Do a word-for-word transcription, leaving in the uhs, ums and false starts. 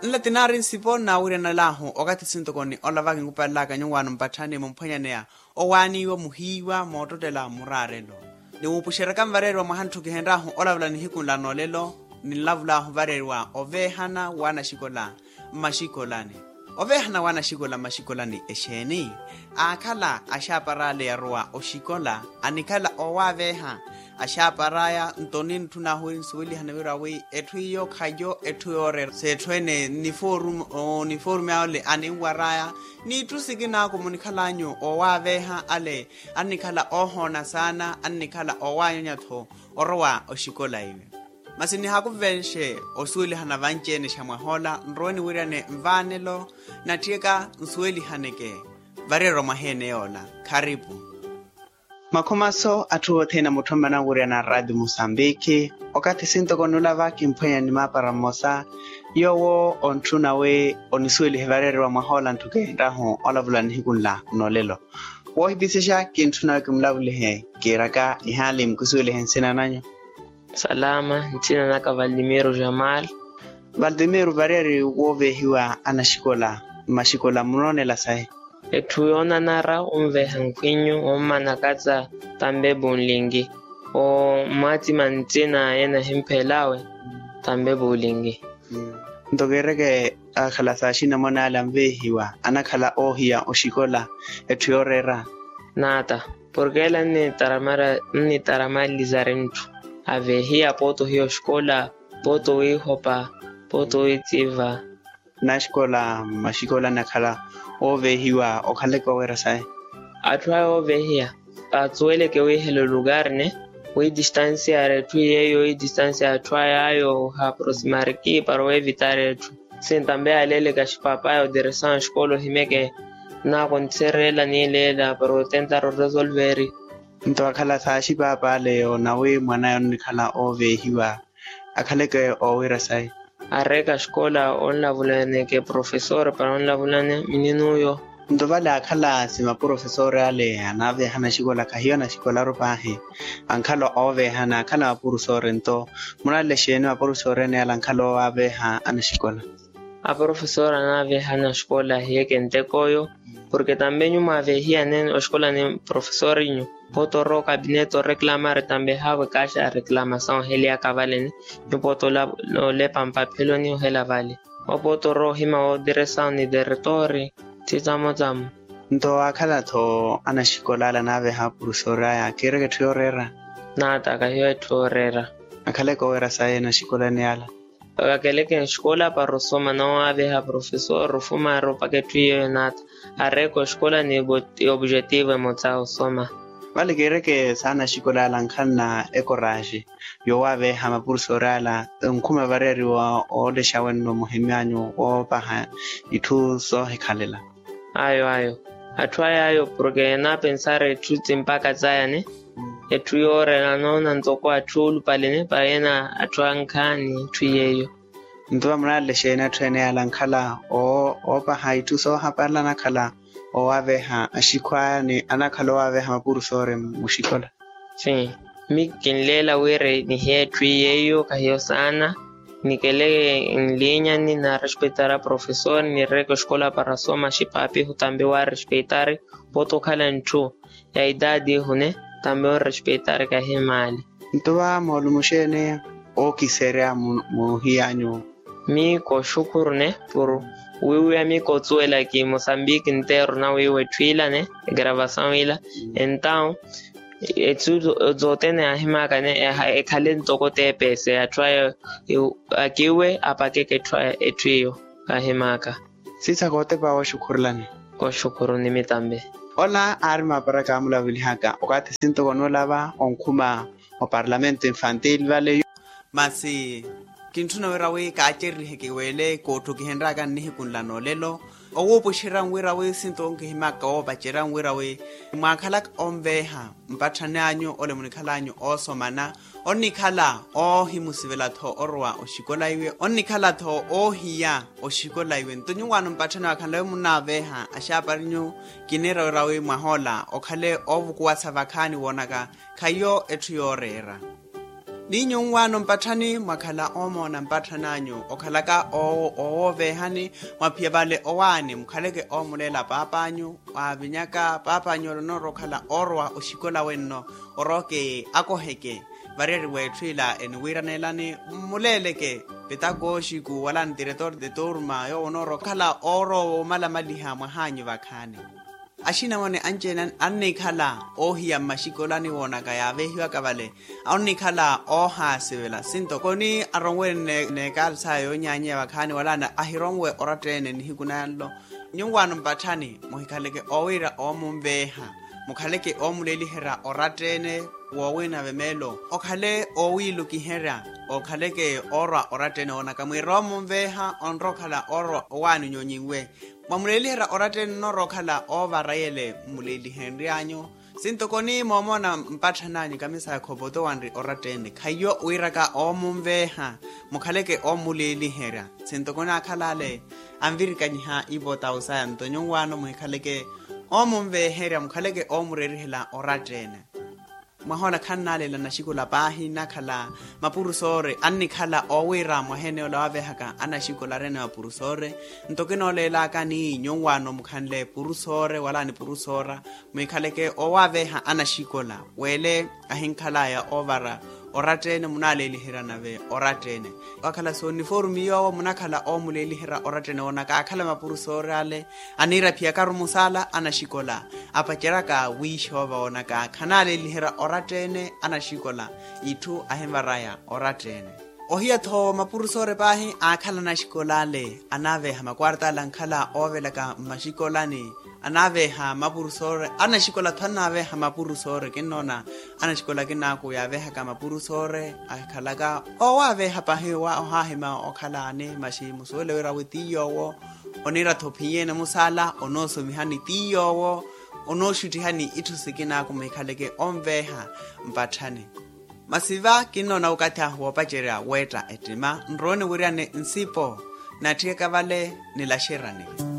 Nla tinaari nsipo nnawiryanalaahu okathi sintokoni ola vakinkupalelaka nyuwaano mpatthani mumphwanyaneya owaaniiwa muhiiwa moottottela muraarelo. Ni wuupuxeryaka nvareeriwa mwaha ntthu kihenry'ahu olavula nihiku nla noolelo, ninlavul'ahu vareeriwa oveehana w'anaxikola mmaxikolani. Oveehana w'anaxikola mmaxikolani exeeni? Aakhala axaapar'ale yarowa oxikola anikhala oowaveeha. Axaapar'aya nto nintthun'ahu wi nsuwelihane wira wi etthu iyo khayo etthu yooreera s'etthu ene. Nifoorumi ale aninwar'aya n'itthu sikinaku munikhal'anyu oowaveeha ale annikhala oohoona saana annikhala oowanyanya-tho orowa oxikola iwe. Masi nihakuvenxe osuwelihana vanci-ene xa mwah'ola nrowe niwiryane nvaanelo natthiyaka nsuwelihaneke vareerwa mwaha ene yoola. Kharipu. Makhumaso atthu othene amutthommana owiryana araati musambikhi okathi sintoko nula vakimphwenya ni maapara mmosa yoowo ontthuna wi onisuwelihe vareeriwa mwah'ola ntthu kihenryahu olavula nihiku nla noolelo. Woohipisexa kintthuna wi kimulavulihe kiiraka ihaali mukisuwelihe nsina nanyu. Salama, nsina naka valtimiro jamal. Valtimiro vareeri wooveehiwa anaxikola mmaxikola munoonela sayi? Etthu yoonanara onveeha nkhwinyu ommanakatsa tambe bunlingi. Omwatima ntsina ena ehimphelawe tambe bunlingi. Nto kiireke akhala saaxina mwan'ale anveehiwa anakhala oohiya oxikola etthu yooreera. Naata porke ela nnitaramalizari ntthu aveehiya pooti ohiya oxikola pooti owiihopa pooti owiitsiva. Naxikola mmaxikola anakhala ooveehiwa okhaleke oweera sayi? Atthu aya ooveehiya paatsuweleke wiihela olukari ne wiidistansiari etthu iy'eyo wiidistansiari atthu aya ayo ohaproximariki para oweevitari etthu. Sintambe aleeleke axipaapaaya otiresawa axikola ohimeke naakontherela niileela para otentara oresolveri. Nto akhala saaxipaap'ale yoona wi mwan'aya onnikhala ooveehiwa akhaleke oowira sayi? Areeka axikola onlavulaneke profesor para onlavulane mininuyo. Nto vale akhala si maprofesori ale anaaveeha anaxikola khahiyo anaxikolaru paahi. Ankhala ooveeha n'akhala maprofesori nto munalele xeeni maprofesori ene ale ankhala oowaveeha anaxikola? Aprofesori anaaveeha anaxikola ahiyeke ntek'oyo porke tambe nyu mwaaveehiyane oxikola ni profesorinyu pooti orowa okabinete oreklamari tambe haavo ekaaxa reklamasaw oheliyaka valene. Nyu pooti olepa mpapheloni ohela vale. Opooti orowa ohima wootiresaw ni teretori. Tthitsamotsamo. Nto akhala-tho anaxikola ale anaaveeha apurusoori aya kiireke etthu yooreera. Naata kahiyo etthu yooreera. Akhaleke oweera sayi anaxikola ene ale. Vakeleke nxikola para osoma noowaaveha profesor ofuma aropaka etthu yeeyo naata. Areeka oxikola ni obujetivo emotsa osoma. Vale kiireke saana axikola ale ankhanna ekoraaxi yoowaaveha mapurusoori ale. Onkhuma vareeriwa oolexa wenno muhimyanyu woopaha itthu soohikhalela. Ayo ayo. Atthu aya ayo porke enaapensari etthu tsimpaka tsayane. Etthu yooreera noona ntoko atthu oolupalene payeena atthu ankhaani etthu yeeyo. Nto vamunalele xeeni atthu ene yale ankhala oopaha itthu soohaparela anakhala owaaveha axikhwaani anakhala owaaveha mapurusoori muxikola. Sim. Mi kinleela wira nihiye etthu yeeyo kahiyo saana. Nikele nlinyani naarespetara profesor nireke oxikola para soma xipaapihu tambe waarespeitari. Pooti okhala ntthu ya idadi ihune tambe onrespeitari kahimaali. Nto va moolumo xeeni ookiserya muhiyanyu? Mi kooxukhuru ne puru wiiwiya mi koosuwela ki mosambiki nteeru na wiiwa etthu ila ne egravasaw ila. Entaw etsu zothene yaahimaaka ne ekhale ntoko teepese atthu aya akiiwe apakeke etthu iyo. Kaahimaaka. Siisa kootepa wooxukhurulani. Kooxukhuru nimi tambe. Ola aari maapara kaamulavulihaka okathi sintoko noolava onkhuma oparlamento infantil vale. Masi kintthuna wira wi kaacererihe kiweele kootthukihenryaka nnihiku nla noolelo. Owuupuxerya nwira wi sinto onkihimaka woopacerya nwira wi mwaakhalaka onveeha mpatthani anyu ole munikhal'anyu oosomana. Onnikhala oohimusivela-tho orowa oxikola iwe onnikhala-tho oohiya oxikola iwe nto nyuwaano mpatthani waakhanle wi munnaaveeha axaaparinyu. Kiniira wira wi mwah'ola okhale oovukuwasa vakhaani woonaka khahiyo etthu yooreera. Ni nyunwaano mpatthani mwakhala oomoona mpatthani anyu okhalaka oowooveehani, mwaphiya vale owaani mukhaleke oomuleela paap'anyu, waavinyaka paap'anyu ole onoorowa okhala oorwa oxikola wenno, orooke akoheke variyari w'etthu ila eniwiiraneelani, mmuleeleke petakooxiku wala ntiretor de turma yoowo onoorowa okhala oorwa woomalamaliha mwah'anyu vakhaani. Axinamwane anci-ene annikhala oohiya mmaxikolani woonaka yaavehiwaka vale, onnikhala oohaasivela sintokoni aronwene n'ekalsa yoonyaanyeya vakhaani wala ahironwe oratta-ene nihiku nanlo. Nyuwaano mpatthani muhikhaleke oowiira oomunveeha, mukhaleke oomuleeliherya oratta-ene. Woowina vemeelo okhale oowiilukiherya, okhaleke oorwa oratta-ene woonaka mwiira oomunveeha onrowa okhala oorwa owaani onyonyinwe. Mwamuleeliherya oratta-ene onoorowa okhala oovara yele mmuleelihenry'anyu. Sintokoni moomoona mpatthani anyu kamisa ya khopoto wanri oratta-ene khaiyo wiiraka oomunveeha, mukhaleke oomuleeliherya. Sintokoni akhala ale anvirikanyiha ipota osaya nto nyuwaano muhikhaleke oomunveeherya mukhaleke oomureerihela oratta-ene. Mwaha ola khannaleela anaxikola paahi nnakhala mapurusoore annikhala oowiira mwaha ene ola waaveehaka anaxikola areene mapurusoore. Nto kinooleelaka ni nyuwaano mukhanle purusoore wala ni purusoora, muhikhaleke oowaaveeha anaxikola weele ahinkhalaya oovara oratta-ene munaaleeliherya nave oratta-ene. Wakhala sooniforume yoowo munakhala oomuleeliherya oratta-ene woonaka akhala mapurusoore ale aniira phiyakaru musaala anaxikola apaceryaka wiixoova woonaka khanaaleeliherya oratta-ene anaxikola itthu ahinvaraya oratta-ene. Ohiya-tho mapurusoore paahi aakhala anaxikola ale anaaveeha makwarta ale ankhala oovelaka mmaxikolani, anaaveeha mapurusoore anaxikola-tho anaaveeha mapurusoore kinnoona anaxikola akinaaku yaaveehaka mapurusoore akhalaka oowaaveeha paahi ohaahima okhalaani maxi musuwele wira wi ti yoowo oniira-tho ophiyeene musaala onoosomihani ti yoowo onooxuttihani itthu sikinaaku muhikhaleke onveeha mpatthani. Masi va kinnoona okathi ahu woopacerya weetta ettima nrowe niwiryane nsipo natthiyaka vale nilaxeryane.